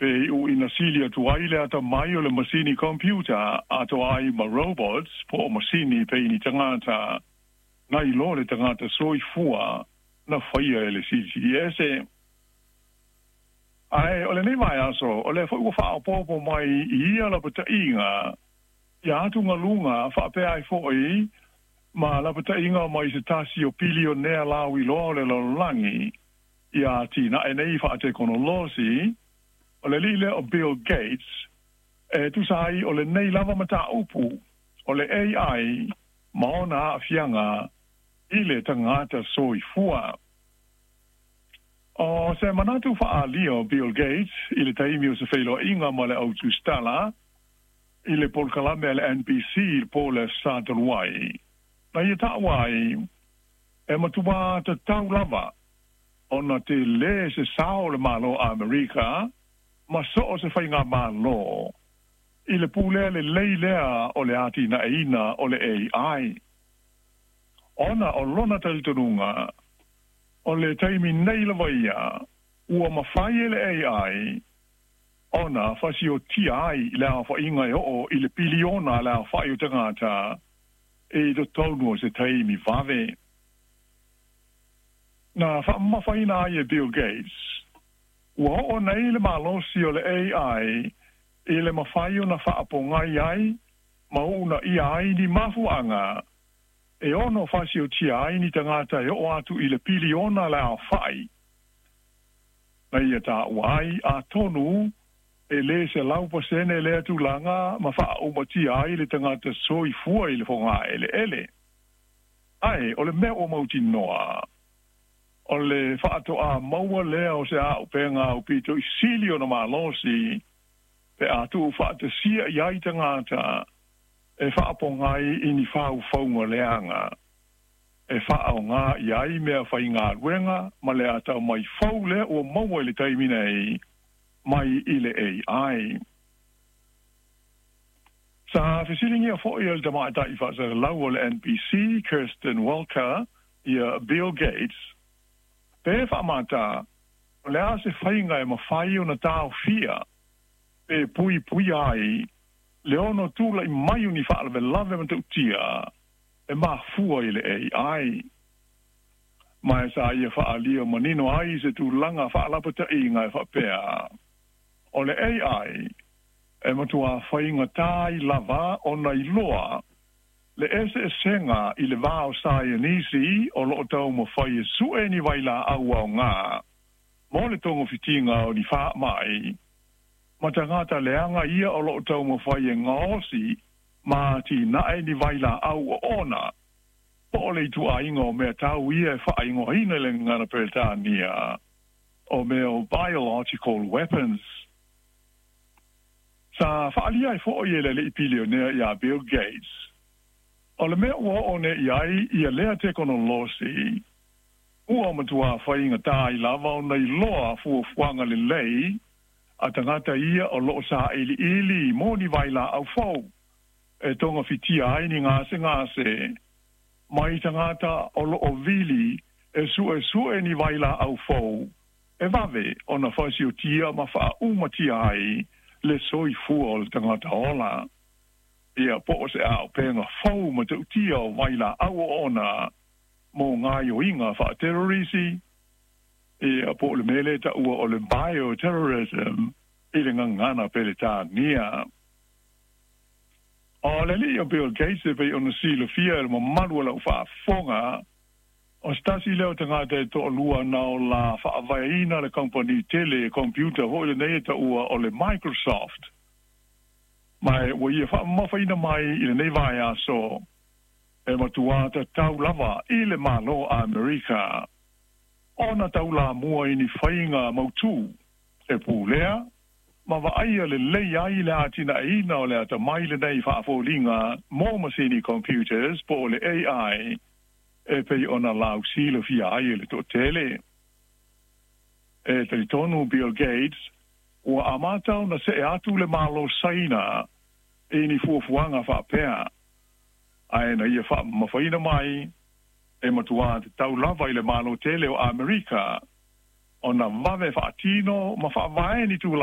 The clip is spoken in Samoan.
Pe iʻuʻina sili atu ai le atamai o le masini computer atoa ai ma robots po o masini pei ni tagata nai lo le tagata soifua na faia e le Silisili Ese. Ae o lenei vaiaso, o lea foi ua faaopoopo mai i ia lapataiga ia atugaluga faapea ai foi ma lapataiga mai se tasi o pilionea lauiloa o le lalolagi ia atinae nei faatekonolosi, o le alii lea o Bill Gates, e tusa ai o lenei lava mataupu o le AI ma ona aafiaga i le tagata soifua. O se manatu faaalia o Bill Gates i le taimi o se feiloaiga ma le au tusitala i le polokalame a le NBC i le po o le Aso Sa talu ai, na ia taua ai, e matua tatau lava ona tele se sao o le Malo o Amerika ma so o se faigamalo i le pulea lelei lea o le atinaeina o le AI. Ona o lona talitonuga, o le taimi nei lava ia ua mafai e le AI ona fasiotia ai le aofaiga e oo i le piliona le aofai o tagata i totonu o se taimi vave. Na faamamafaina ai e Bill Gates, ua oo nei le malosi o le AI i le mafai ona faapogai ai ma uunaia ai ni mafuaaga e ono fasiotia ai ni tagata e oo atu i le piliona le aofai. Na ia taua ai, atonu e lē 100% lea tulaga ma faaaumatia ai le tagata soifua i le fogaeleele. Ae o le mea ua mautinoa, o le faatoā maua lea o se auupega aupito i sili ona malosi pe a tuufaatasia i ai tagata e faapogai i ni faufauga leaga e faaaogā i ai mea faigaluega ma le atamai fou lea ua maua i le taimi nei mai i le AI. Sa fesiligia foi e le tamaitai faasalalau o le NBC, Kirsten Walker, ia Bill Gates, pe faamata o le a se faiga e mafai ona taofia pe puipuia ai le ono tula'i mai o ni faalavelave matautia e mafua i le AI. Ma e sa ia faaalia manino ai se tulaga faalapata'iga e faapea, o le AI e matuā faigata ai lava ona iloa le eseesega i le va o saienisi o loo taumafai e su'e ni vailaau aogā mo le togafitiga o ni faama'i ma tagata leaga ia o loo taumafai e gaosi ma atinae ni vailaau oona po o le ituaiga o mea tau ia e faaigoaina i le gagana Peretania o mea o biological weapons. Sa faaalia ai foi e le alii pilionea iā Bill Gates, o le mea ua oo nei i ai ia lea tekonolosi, ua matuā faigata ai lava ona iloa fuafuaga lelei a tagata ia o loo sailiili mo ni vailaau fou e togafitia ai ni gasegase mai tagata o loo vili e suesue ni vailaau fou e vave ona fasiotia ma faaumatia ai le soifua o le tagata ola. Ia po o se auupega fou matautia o vailaau oona mo gaoioiga faaterorisi, ia po o le mea lea e taua o le bioterrorism i le gagana Peretania. O le alii o Bill Gates e pei ona silafia e le mamalu o lau faafofoga, o se tasi lea o tagata e toalua na ola faavaeina le kamupani tele computer foi lenei e taua o le Microsoft. Ma ua ia faamamafaina mai i lenei vaiaso e matuā tatau lava i le Malo o Amerika ona taulamua i ni faiga mautū e pulea ma vaaia lelei ai le atinaeina o le atamai lenei faafoliga mo masini computers po o le AI e pei ona lausilafia ai e le toatele. E talitonu Bill Gates, ua amata ona see atu le Malo Saina i ni fuafuaga faapea, ae na ia faamamafaina mai e matuā tatau lava i le Malo tele o Amerika ona vave faatino ma faavae ni tulafono.